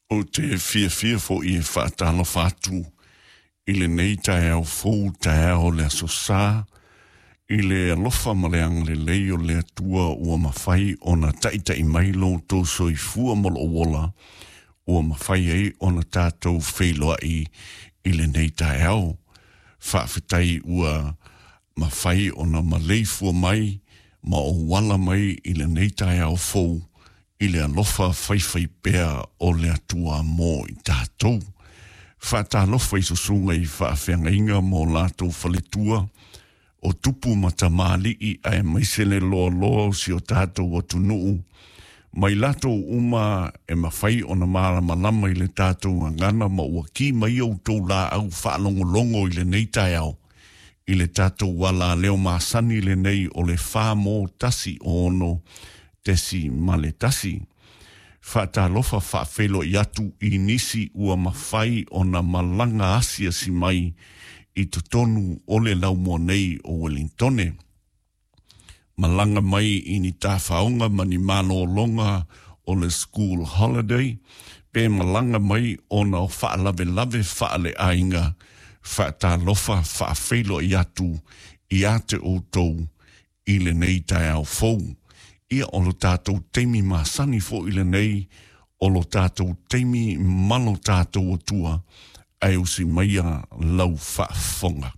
Ou te fiafia foi e faatalofa atu i lenei taeao fou, taeao o le Aso Sa, i le alofa ma le agalelei o le Atua ua mafai ona taitai mai lo outou soifua ma lou ola, ua mafai ai ona tatou feiloai i lenei taeao. Faafetai ua mafai ona maleifua mai ma ou ala mai i lenei taeao fou i le alofa faifaipea o le Atua mo i tatou. Faatalofa i susuga i faafeagaiga ma o latou faletua, o tupu ma tamalii aemaise le loaloa o si o tatou atunuu, mai latou uma e mafai ona malamalama i le tatou gagana ma ua ki mai outou laau faalogologo i lenei taeao, i le tatou alaleo masani lenei o le 4 1 6.1. Faatalofa faafeiloai atu i nisi ua mafai ona malaga asiasi mai i totonu o le laumua nei o Wellingtone. Malaga mai i ni tafaoga ma ni malōlōga o le school holiday, pe malaga mai ona o faalavelave faaleaiga, faatalofa faafeiloai atu ia te outou i lenei taeao fou. Ia o lo tatou taimi masani foi lenei, o lo tatou taimi ma lo tatou Atua, ae usi maia lau faafofoga.